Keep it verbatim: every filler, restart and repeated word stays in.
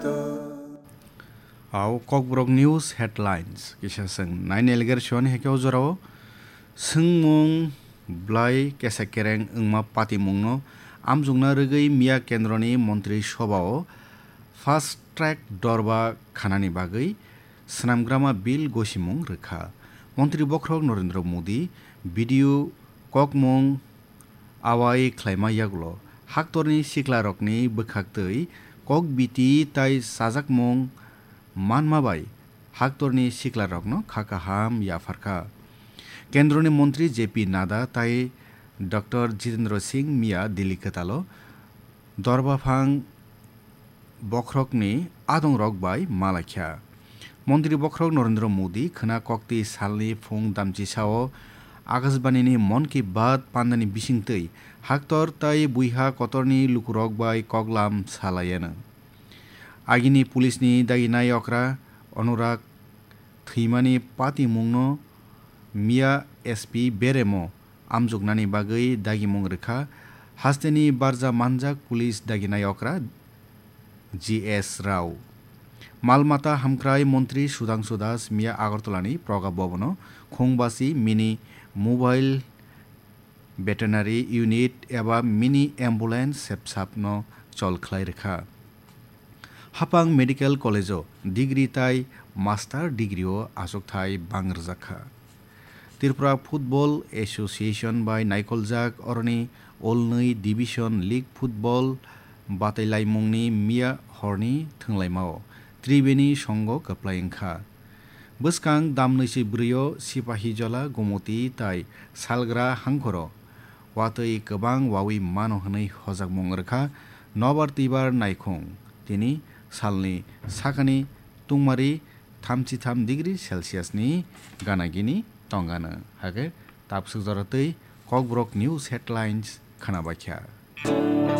Au Kokborok News Headlines kisa chwng naini eleger siyoni hake o jorao swngmung blai kesa kereng wngma patimungno amjokna rwgwi miya kendroni montri sobao fast track dorba khanani bagwi swnamgrama bill gosimung rwkha. Montri bokhorok Narendra Modi video kokmung awai khlaima yagulo haktorni siklarokni bwkhaktwi kokbiti tai chajakmung manma bai haktorni siklarokno kha kaham yapharkha. Kendroni montri J P Nadda tai Doctor Jitendra Singh miya Delhi kwtalo dorbaphang bokhorokni adongrok bai malaikha. Montri bokhorok Narendra Modi khwna kokti salni phung damchisao Akashbanini Mon Ki Baat pandani bisingtwi haktor tai buiha kotorni lukurok bai koklam salaiano. Agini pulisni daginai okra Anurag thwimani patimungno miya S P beremo amjoknani bagwi dagimung rwkha hasteni barja manjak police daginai okra G S Rao. Malmata hamkrai montri Sudhangshu Das miya Agartalani Praga Bhavan-o khungbasi mini mobile veterinary unit eba mini ambulance sepsapno chol khlai rwkha. Hapang Medical College-o degree tai master degree-o achukthai bang rwjakha. Tripura Football Association bai naikoljak oroni olnwi division league football batailaimungni miya horni thwnglaimao Tribeni songo kwplai wngkha. Bwskang damnwi se bwrwi-o Sipahijola, Gomoti tai Salgra hangkhoro watwi kwbang wawi mano hwnwi hojakmung rwkha nobar twibar naikhung tini salni sakani tungmari thamchi tham degree Celsius ni gana gini tongano. Hake tabswk jora twi Kokborok News Headlines khwnabaikha.